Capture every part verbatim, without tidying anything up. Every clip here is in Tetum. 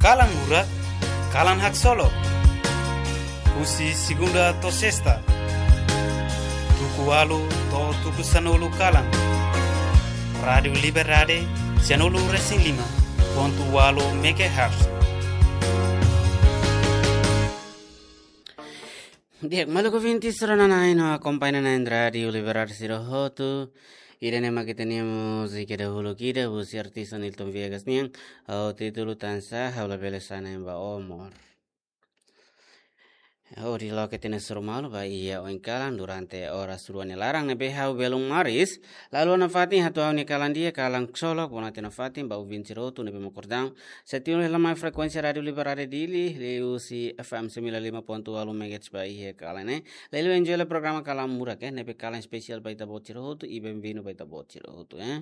Kalan Murak, kalan haksolok. Husi segunda to'o sesta, tuku ualu to'o tuku sanulu kalan. Rádiu Liberdade, sanulu resin lima pontu ualu megahertz. Di'ak, maluk ouvinte sira-na'in no akompaña na'in Rádiu Liberdade sira hotu. Ida-ne'e mak ita-nia múzika dahuluk ida, husi artista Nilton Viegas nian, ho títulu Tan Sá Ha'u Labele Sai Na'in ba Ó, Mós. Hodi loke ita-nia hasoru malu ba iha oin kalan durante oras rua nia laran ne'ebé ha'u belun maris. Lalu, nafatin hato'o ha'u-nia kalan di'ak, kalan haksolok, bonatin nafatin ba ouvinte sira hotu ne'ebé mak kordang. Sei tune hela mai frekuénsia Rádiu Liberdade Dili, liuhusi F M sembilan lima pontu ualu megahertz ba iha kalan ne'e. Lalu enjoy hela programa Kalan Murak, eh, ne'ebé kalan espesiál ba ita-boot sira hotu, i benvindu ba ita-boot sira hotu, eh.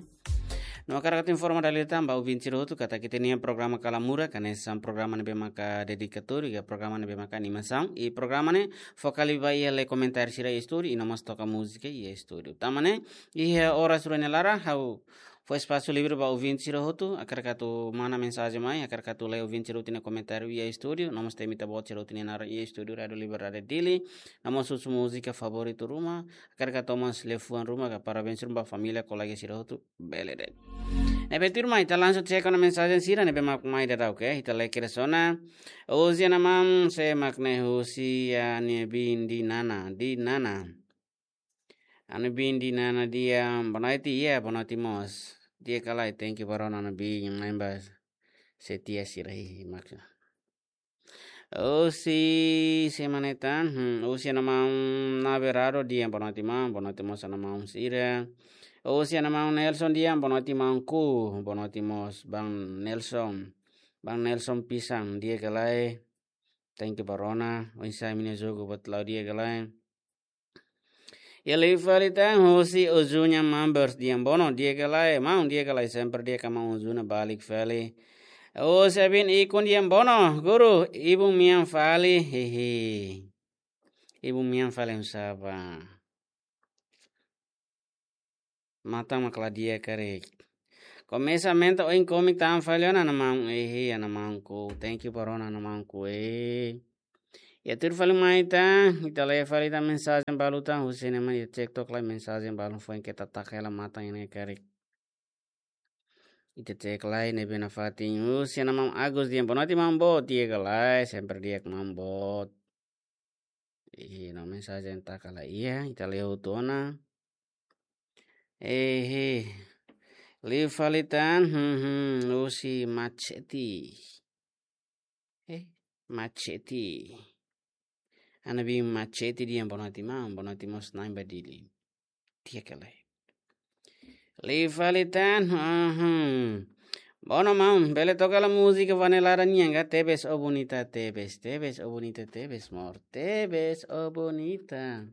No hakarak atu informa dala ida tan ba ouvinte sira hotu katak ita-nia programa Kalan Murak hanesan programa ne'ebé maka dedikatóriu, ka programa ne'ebé maka animasaun, i programa ne'e foka liu ba iha lee komentáriu sira iha estúdiu, i no mós toka múzika iha estúdiu. Tanba ne'e, iha oras rua nia laran, ha'u fó espasu livre ba ouvinte sira hotu, hakarak atu manda mensajen mai, hakarak atu lee ouvinte sira hotu nia komentáriu iha estúdiu, no mós temi ita-boot sira hotu nia naran iha estúdiu Rádiu Liberdade Dili, no mós husu múzika favoritu ruma, hakarak atu mós liafuan ruma, ka parabéns ruma ba família, kolega sira hotu, bele de'it. Ne'ebé tuirmai, ita langsung check ona mensajen sira ne'ebé mak mai daudaun, oke? Ita lee kedas ona. Husi Ana Maun, sé mak ne'e? Husi Ana Biin Dinana, Dinana. Ana Biin Dinana Dian, boa noite, iya, boa noite mós. Di'ak ka lae, thank you ba rona Ana Biin, maun ba setia sira hihi, maksud. Husi, sé mak ne'e tan, hmm, husi Ana Maun Naberado Dian, boa noite maun, boa noite mós Ana Maun sira. Husi Ana Maun Nelson Dian, boa noite maunku, boa noite mós Bang Nelson. Bang Nelson Pisang, di'ak ka lae. Thank you ba rona, oinsá imi-nia jogu, buat la'o di'ak ka lae. Iha liu fali tan husi Ozuña Mambers Dian, bono, di'ak ka lae, maun, di'ak ka lae, sempre di'ak ka maun Ozuña, balik fali. Husi Abin Ikun Dian, bono, guru, ibun mean fali, hihi. Ibun mean fali oinsá bá? Matan mak la di'ak karik. Komesa aumenta oin komik tan fali ona Ana Maun, hihi, Ana Maunku. Thank you ba rona Ana Maunku, eh. Iha tuir fali mai tan, ita lee fali tan mensajen balu tan, husi ne'e mak ita check took lai mensajen balu foin keta taka hela matan ne'e karik. Ita check lai ne'ebé nafatin, husi Ana Maun Agus Dian, boa noite maun boot, di'ak ka lae, sempre di'ak maun boot. Ih, no mensajen taka la iha, ita lee hotu ona. Eh, liu fali tan, hmm, hmm, husi Machete. Eh, Machete. Ana Biin Machete Dian, boa noite maun, boa noite mós na'in ba Dili. Di'ak ka lae? Liu fali tan, hmm, hmm. Bono maun, bele toka hela múzika Vanelada nian ka, Tebes ó Bonita, Tebes, Tebes ó Bonita, Tebes, mós, Tebes ó Bonita.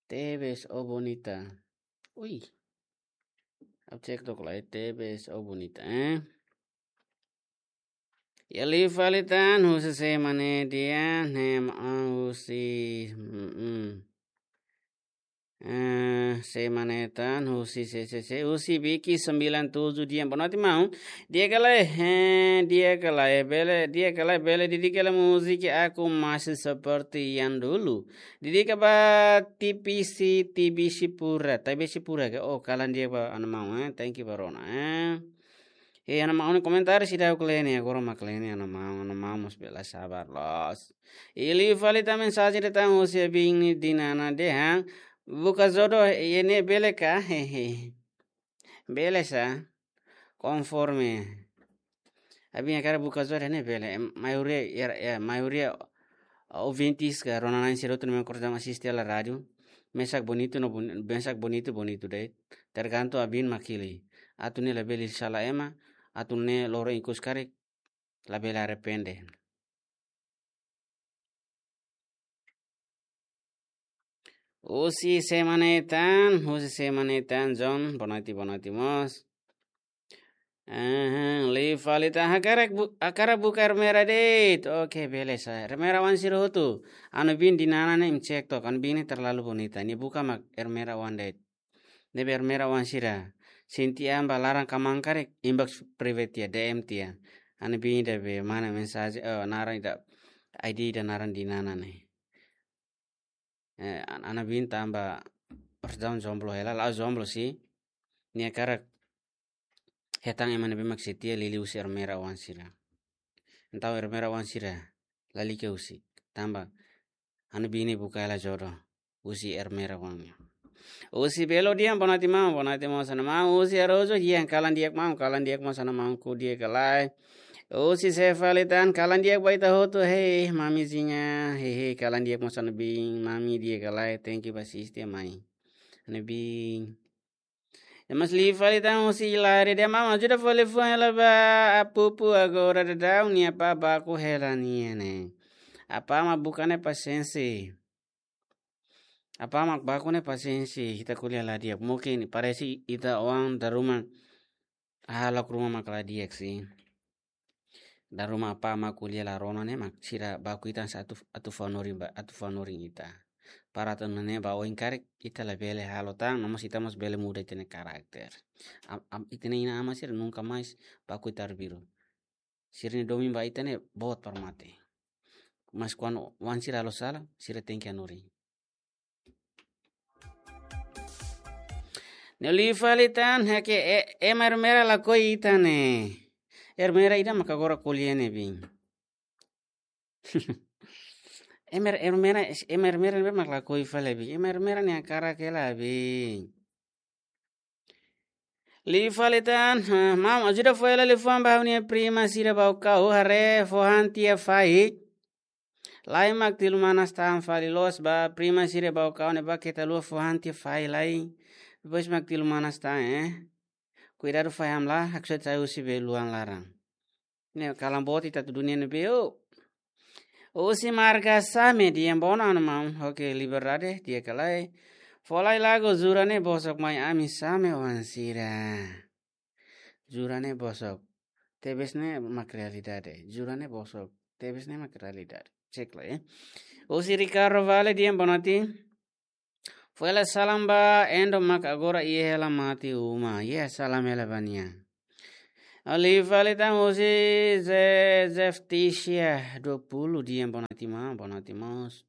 Tebes ó Bonita. Ui. Ha'u check took lai, Tebes ó Bonita, eh. Iha liu fali tan, husi sé mak ne'e Dian, ne'e mak, ah, husi, mm, mm. Eh, sé mak ne'e tan, husi, sé, sé, sé, husi Vicky sembilan tujuh Dian, boa noite maun. Di'ak ka lae, eh, di'ak ka lae, bele, di'ak ka lae, bele dedika hela múzika Aku Masih Seperti Yang Dulu. Dedika ba Tibisi, Tibisi Pura, Tibisi Pura ka? Oh, kalan di'ak ba Ana Maun, eh. Thank you ba rona, eh. Eh, Ana Maun nia komentáriu seidauk lee ne'e, agora mak lee ne'e, Ana Maun, Ana Maun mós bele sabar loos. Iha liu fali tan mensajen ida tan husi Abin Dinana dehan, buka jodoh iha ne'e bele ka? Hehe. Bele sá. Konforme. Abin hakarak buka jodoh iha ne'e bele. Em, maioria, ya, ya, maioria ouvintes ka rona-na'in sira hotu ne'ebé mak kordang asiste hela rádiu. Mesak bonitu no boni-, mesak bonitu, bonitu de'it. Tergantung Abin mak hili. Atu ne'e labele sala ema, atu ne'e loron ikus karik, labele arrepende. Husi sé mak ne'e tan, husi sé mak ne'e tan, John, boa noite, boa noite mós. Aha, liu fali tan, hakarak bu-, hakarak buka ermera de'it. Oke, bele sá. Ermera oan sira hotu. Ana Biin Dinana ne'e imi check took, Ana Biin ne'e terlalu bonita. Nia buka mak ermera oan de'it. Ne'ebé ermera oan sira. Sente an ba laran kmaan karik, inbox private tiha, D M tiha. Ha'u-nia biin ida be mana mensajen, eh, naran ida, I D ida naran Dinana ne'e. Eh, an-, ha'u-nia biin tanba harus daun jomblo hela, la'ós jomblo sih. Nia hakarak hetan ema ne'ebé mak setia, liuliu husi Ermera oan sira. Entaun Ermera oan sira, lalika husik. Tanba ha'u-nia biin ne'e buka hela jodoh husi Ermera oan. Husi Belo Dian, boa noite maun, boa noite maun, sana maun. Husi Arojo, di'ak, kalan di'ak maun, kalan di'ak maun, sana maun, ku di'ak ka lae. Husi Sefalitan, kalan di'ak ba ita hotu, hei, mamizinha, hei, hei, kalan di'ak maun, sana biin, mami di'ak ka lae, thank you ba asiste mai. Ha'u-nia biin. Ya, mas liu fali tan husi Ilari, di'ak maun, ajuda fali fó hela ba Apupu, agora daudaun nia apá baku hela nia ne'e. Apá mak buka nia pasiénsia. Apá mak baku nia pasiénsia, ita ko'alia la di'ak. Mungkin parese ita-nia oan dala ruma, ah, la ruma mak la di'ak sih. Dala ruma apá mak ko'alia la rona ne'e mak sira baku ita sa atu, atu fó hanorin ba, atu fó hanorin ita. Para atu nune'e ba oin karik ita labele halo tan, no mós ita mós bele muda ita-nia karakter. Am, am, ita-nia inan-aman sira nunka mais baku ita arbiru. Sira-nia domin ba ita ne'e boot para mate. Mas kuandu oan sira halo sala, sira tenke hanorin. Ne'e liu fali tan, ha'u ke, e, ema Ermera lakohi ita ne'e. Ermera ida maka agora ko'alia ne'e biin. Ema Er-, Ermera, ema Ermera ne'ebé mak lakohi fali biin. Ema Ermera nia hakarak hela biin. Liu fali tan, ah, maun, ajuda fó hela liafuan ba ha'u-nia prima sira Baucau, haree fó han tiha fali. Lae, mak tilu manas tan fali, loos ba prima sira Baucau ne'ebá keta haluha fó han tiha fali lae. Depois mak tilu manas tan, eh. Kuidadu fali hamlaha, haksoit sai husi beluan laran. Ne'e kalan boot ita atu dunia ne'ebé, oh. Husi Marga Same, di'ak, boa noite maun. Oke, Liberdade, di'ak ka lae. Fó lai lagu Jura Ne'e Bosok mai ami Same oan sira. Jura ne'e bosok. Tebes ne'e mak realidade. Jura ne'e bosok. Tebes ne'e mak realidade. Cek lai, eh. Husi Ricardo Vale, di'ak, boa noite. Fó hela salam ba Endo mak agora iha hela mate uma. Iha salam hela ba nia. Liu fali tan husi Ze-, Zefticia dua puluh, di'ak, boa noite maun, boa noite mós.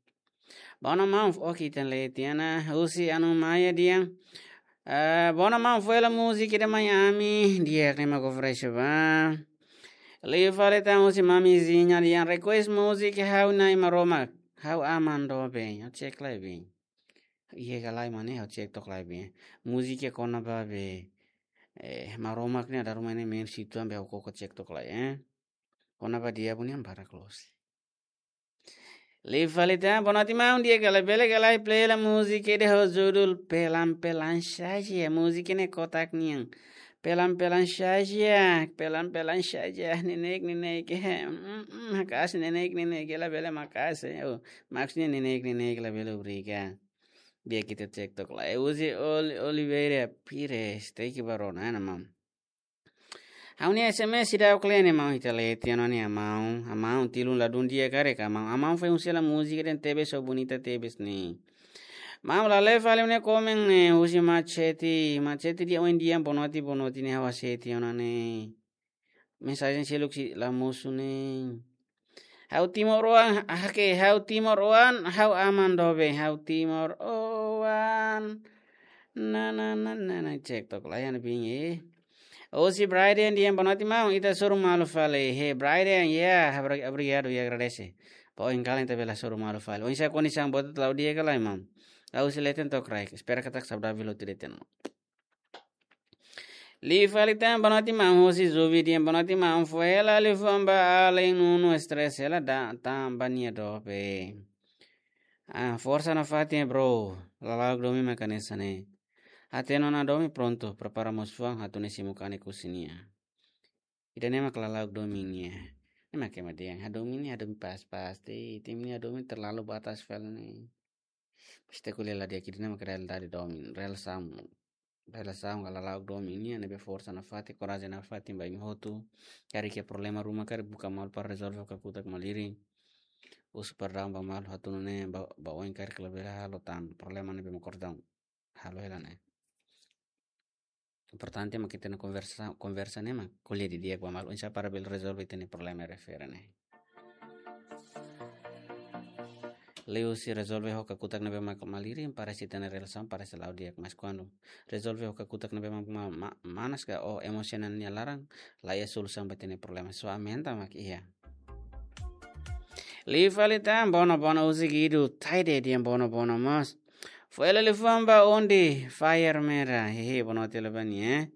Boa noite maun, oke, ita lee tiha ona, husi Anu Maia, di'ak. Eh, boa noite maun, fó hela múzika ida mai ami, di'ak, ne'e mak oferese ba. Liu fali tan husi Mamizinha, di'ak, request múzika Ha'u Na'i Maromak, Ha'u Aman Doben, ha'u cek lai biin. Iha ka lae mane, ha'u cek took lai biin. Múzika kona-ba be, eh, Maromak ne'e dala ruma ne'e main situ, be ha'u koko cek took lai, eh. Kona-ba diabu ne'e barak loos. Liu fali tan, boa noite maun, di'ak ka lae, bele ka lae play hela múzika ida ho judul Pelan-pelan Saja, múzika ne'e kotak nian. Pelan-pelan saja, pelan-pelan saja, neineik, neineik, eh, mm, mm, maka'as neineik, neineik, labele maka'as, eh, oh, maksudnya neineik, neineik, labele obrigadu. Di'ak, ita cek took lai. Husi Oli-, Oliveira Pires, thank you ba rona, eh, maun. Ha'u-nia S M S seidauk lee ne'e maun, ita lee tiha ona ne'e maun. Maun, tilun ladún di'ak karik maun. Maun foin husi hela múzika ida tebes ho bonita tebes ne'e. Maun, la lee fali ne'e komen ne'e husi Machete. Machete, di'ak, oin di'ak, boa noite, boa noite ne'e ha'u hasai tiha ona ne'e. Mensajen seluk sei la mosu ne'e. Ha'u timoroan, ha'u ke, ha'u timoroan, ha'u aman doben, ha'u timoroan. Na, na, na, na, na, cek took lai, ha'u-nia biin, eh. Husi Brian, di'ak, boa noite maun, ita hasoru malu fali. He, Brian, ya, obri-, obrigadu, ya, agradese. Ba oin kalan ita bele hasoru malu fali. Oinsá kondisaun boot, ita la'o di'ak ka lae maun? La'o, husi leten to'o kraik. Espera katak saudavel hotu leten. Liu fali tan, boa noite maun, husi Zubi, di'ak, boa noite maun, fó hela liafuan ba Allen Nuno, stress hela da, tanba nia doben. Ah, forsa nafatin, bro. Lala'ok domin mak hanesan ne'e. Hatene ona domin, prontu, prepara mós fuan, atu nune'e simu kanek husi nia. Ida-ne'e mak lala'ok domin nian. Ne'e mak ema dehan, hadomi ne'e hadomi pas-pas de'it, imi-nia hadomi terlalu batas fali ne'e. Ita ko'alia la di'ak, ida-ne'e mak realidade domin, relasaun. Relasaun ka lala'ok domin nian, ne'ebé forsa nafatin, korajen nafatin ba imi hotu. Karik iha problema ruma karik buka malu para rezolve ho kakutak malirin. Husu perdaun ba malu, atu nune'e ba, ba oin karik labele halo tan problema ne'ebé mak kordaun halo hela ne'e. Importante mak ita-nia konversa, konversa ne'e mak ko'alia didi'ak ba malu, oinsá para bele rezolve ita-nia problema refere ne'e. Liuhusi rezolve ho kakutak ne'ebé mak malirin, parese ita-nia relasaun parese la'o di'ak, mas kuandu rezolve ho kakutak ne'ebé mak ma-, ma-, manas ka ou emosionál nia laran, la iha solusaun ba ita-nia problema. Só aumenta mak iha. Liu fali tan, bono bono husi Guido Taide, di'ak, bono bono mós. Foin hela liafuan ba Ondi Fire Mera. Hehe, boa noite, Lebani, eh.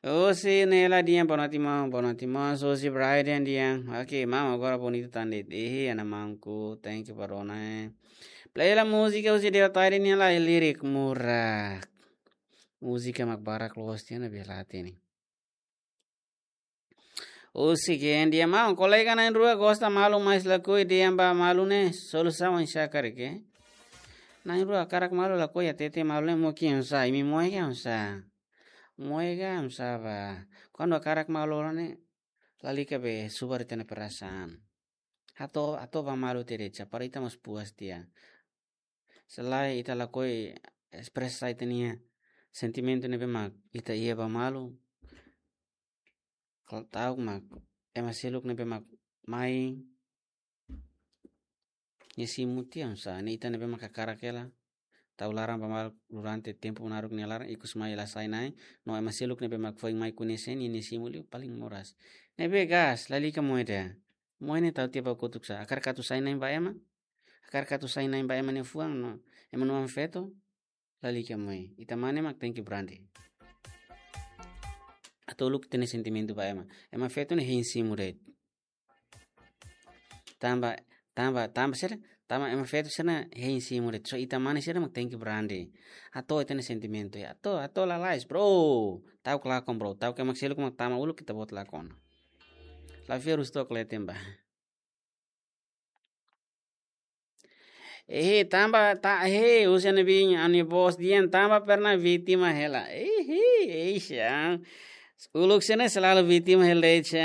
Husi Nela, di'ak, boa noite, maun, boa noite, maun. Husi Brian, di'ak. Oke, maun, agora bonita tan de'it. Hehe, ana maunku, thank you ba rona, eh. Play hela múzika husi Deo Taide nian lai, lirik murak. Múzika mak barak loos tiha ona, bele hatene. Husi Gen, di'ak, maun, kolega na'in-rua gosta malu, mas lakohi dehan ba malu ne'e, solusaun oinsá karik, eh? Na'in-rua hakarak malu, lakohi hatete malu ne'e, moe ke oinsá, imi moe ke oinsá? Moe ke oinsá ba? Kuandu hakarak malu ne'e, lalika be subar ita-nia perasaan. Hato'o, hato'o ba malu tiha de'it, para ita mós puas tiha. Se lae ita lakohi espresa ita-nia sentimentu ne'ebé mak ita iha ba malu, kal-, ta'uk mak ema seluk ne'ebé mak mai nia simu tiha oinsá, ne'e ita ne'ebé mak hakarak hela tau laran ba malu durante tempu naruk nia laran, ikus mai la sai na'in, no ema seluk ne'ebé mak foin mai koñese nia, nia simu liu paling moras. Ne'ebé gas, lalika moe de'it. Moe ne'e tau tiha ba kotuk sá. Hakarak atu sai na'in ba ema? Hakarak atu sai na'in ba ema nia fuan no ema nia oan-feto? Lalika moe. Ita mane mak tenke brande. Atu uluk ita-nia sentimentu ba ema. Ema feto ne'e hein simu de'it. Tanba, tanba, tanba sira, tanba ema feto sira ne'e hein simu de'it. Só ita mane sira mak tenke brande. Hato'o ita-nia sentimentu, ya. Hato'o, hato'o lalais, bro. Ta'uk lakon, bro. Ta'uk ema seluk mak tama uluk ita-boot lakon. La fiar husi to'o kleten ba. Ehe, tanba, ta, he, husi Ana Bin, Ana Bos dehan, tanba pernah vítima hela. Ehe, eixa. Uluk sira ne'e selalu vítima hela, eixa.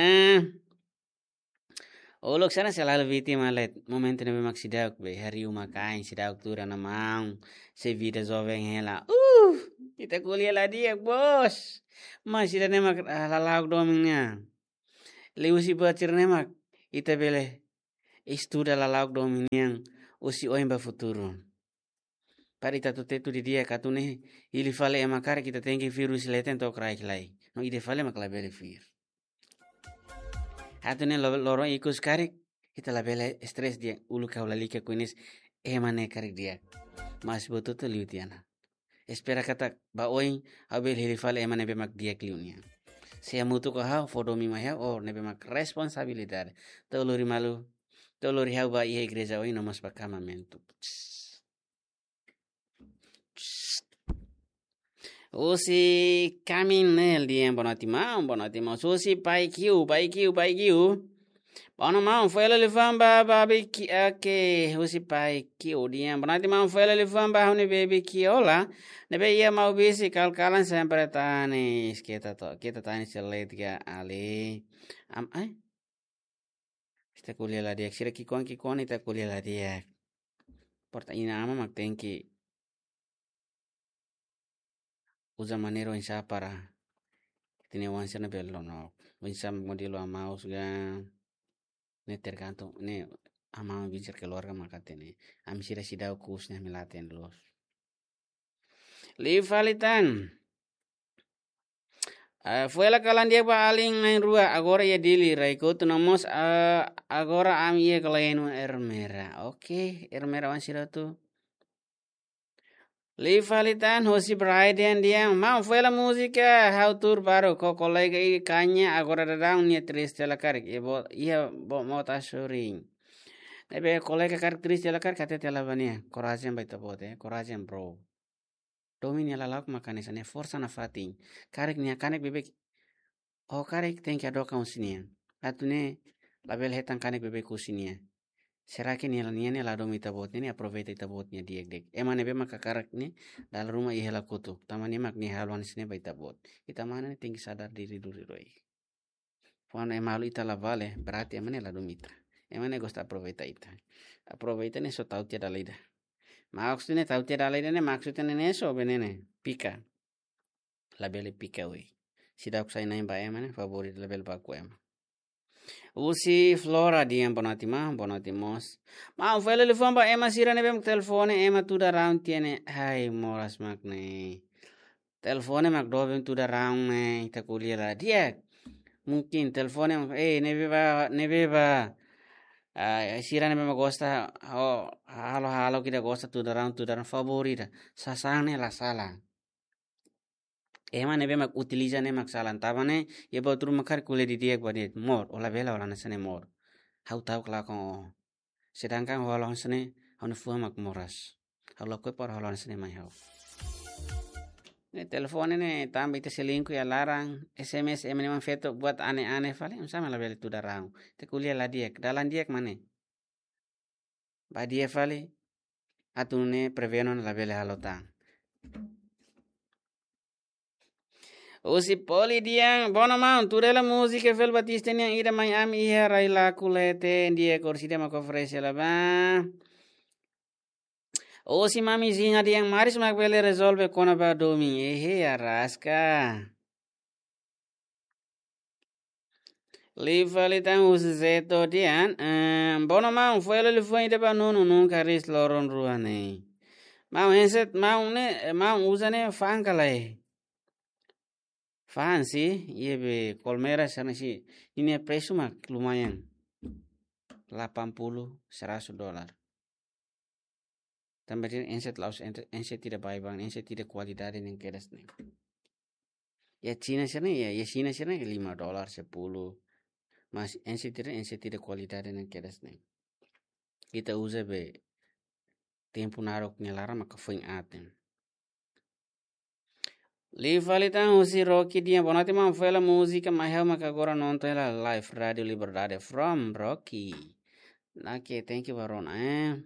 Uluk sira ne'e selalu vítima hela. Momentu ne'ebé mak seidauk be, hariu mak ain, seidauk tuur ona maun, sei vida joven hela. Uh, ita ko'alia la di'ak, bos. Mas ida-ne'e mak, ah, lala'ok domin nian. Liuhusi buat sira-ne'e mak ita bele estuda lala'ok domin nian husi oin ba futuru. Para ita atu tetu didi'ak atu nune'e hili fali ema karik, ita tenke fir husi leten to'o kraik lai. No ida fali mak labele fir. Atu nune'e lo-, loron ikus karik, ita labele stres di'ak uluk ha'u lalika koñese ema ne'e karik di'ak. Mas buat hotu liu tiha ona. Espera katak ba oin ha'u bele hili fali ema ne'ebé mak di'ak liu nian. Sei hamutuk ho ha'u, fó domin mai ha'u, ou ne'ebé mak responsabilidade. To'o lori malu, to'o lori ha'u ba iha igreja oin no mós ba kamamentu. Husi Kaminel dehan, boa noite maun, boa noite maun. Husi Pai Kiu, Pai Kiu, Pai Kiu. Bono maun, foin hela liafuan ba, ba Biki, oke, husi Pai Kiu dehan. Boa noite maun, foin hela liafuan ba ha'u-nia baby Kiola. Ne'ebé iha Maubisse, kal-kalan sempre tanis. Keta to, keta tanis seletka ali. Am, ai? Ita ko'alia la di'ak, sira ki'ikoan-ki'ikoan ita ko'alia la di'ak. Porta ina ama mak tenke uza maneira oinsá para ita-nia oan sira ne'e bele lonok. Oinsá modelu amaus ga, ne'e tergantung, ne'e amau bicara keluarga mak hatene. Ami sira seidauk ku'us ne'e ami la hatene loos. Liu fali tan. Ah, foin hela kalan di'ak ba alin na'in-rua, agora iha Dili, rai kotu no mós, ah, agora ami iha Kalenu Ermera. Oke, Ermera oan sira hotu. Liu fali tan, husi Brian dehan, maun foin hela múzika, ha'u tuur baru, ho kolega ida kaña, agora daudaun nia triste la karik, iha boot, iha boot mota sorin. Ne'ebé kolega karik triste la karik, hatete la ba nia, korajen ba ita-boot, eh, korajen, bro. Domin nia lala'ok mak hanesan ne'e, forsa nafatin. Karik nia kanek beibeik, oh, karik tenke hadook husi nia. Atu nune'e labele hetan kanek beibeik husi nia. Será que nia, nia ne'e la domin ita-boot, nia ne'e aproveita ita-boot nia di'ak de'it. Ema ne'ebé mak hakarak ne'e, dala ruma iha hela kotuk. Tanba ne'e mak nia halo hanesan ne'e ba ita-boot. Ita mane ne'e tenke sadar diri duni loos. Kuandu ema halo ita la vale, berarti ema ne'e la domin ita. Ema ne'e gosta aproveita ita. Aproveita ne'e só tau tiha dala ida. Maksud ne'e tau tiha dala ida ne'e, maksud ne'e ne'e só be ne'e ne'e, pika. labele pika oi. Seidauk sai na'in ba ema ne'e, favór ida labele baku ema. Husi Flora dehan boa noite maun, boa noite mós. Maun, fó hela liafuan ba ema sira ne'ebé mak telefone ema tuda raun tiha ne'e. Ai, moras mak ne'e. Telefone mak doben tuda raun ne'e, ita ko'alia la di'ak. Mungkin telefone mak, eh, ne'ebé ba, ne'ebé ba. Ah, sira ne'ebé mak gosta, oh, halo, halo ida gosta tuda raun, tuda raun favór ida. Sasán ne'e la sala. Ema ne'ebé mak utiliza ne'e mak sala. Tanba ne'e, iha buat ruma karik ko'alia didi'ak ba de'it. Mós, ó labele hola hanesan ne'e mós. Ha'u ta'uk lakon ó. Sedangkan ó halo hanesan ne'e, ha'u-nia fuan mak moras. Ha'u lakohi para halo hanesan ne'e mai ha'u. Ne'e telefone ne'e tanba ita selingkuh iha laran, S M S ema ne'e mak feto buat ane-ane fali, oinsá mak labele tuda raun. Ita ko'alia la di'ak, dalan di'ak mak ne'e. Ba di'ak fali, atu nune'e prevene labele halo tan. Husi Poli dehan, boa noite maun, tuda hela múzika Evel Batista nian ida mai ami iha rai laku leten di'ak, orsida mak oferese hela ba. Husi Mami Zinha dehan, maris mak bele rezolve kona-ba domin. Ehe, araska. Liu fali tan husi Zeto dehan, eh, boa noite maun, fó hela liafuan ida ba Nuno, nunka ris loron rua ne'e. Maun, handset, maun ne'e, maun uza ne'e fa'an ka lae. Fa'an sih, iha be Colmera sana sih. Ninia presu mak lumayan. Delapan puluh, seratus dolar. Tanba dehan handset la'ós handset, handset ida baibain, handset ida kualidade ne'e kedas ne'e. Iha Xina sira ne'e, iha, iha Xina sira ne'e lima dolar, sepuluh. Mas handset ida, handset ida kualidade ne'e kedas ne'e. Ita uza be tempu naruk nia laran maka foin aat ne'e. Liu fali tan husi Rocky dehan, boa noite maun, fó hela múzika mai ha'u maka agora nonton hela live Rádio Liberdade from Rocky. Oke, thank you ba rona, eh.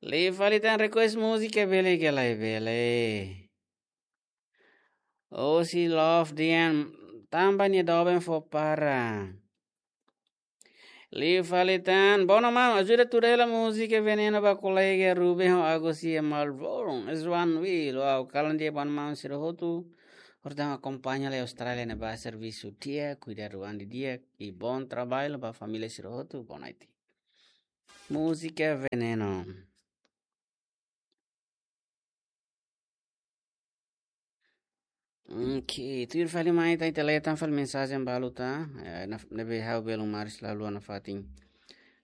Liu fali tan request múzika bele ka lae, bele. Husi Love dehan, tanba nia doben fó para. Liu fali tan, boa noite maun, ajuda tuda hela múzika Veneno ba kolega Ruben ho Agus iha Melbourne, Swanville. Wow, kalan di'ak ba maun sira hotu. Portantu akompaña lai Austrália ne'e ba servisu di'ak, kuidadu an didi'ak, i bom trabalho ba família sira hotu, boa noite. Múzika Veneno. Oke, tuir fali mai ita, ita lee tan fali mensajen balu ta, eh, na, ne'ebé ha'u belun maris la haluha nafatin.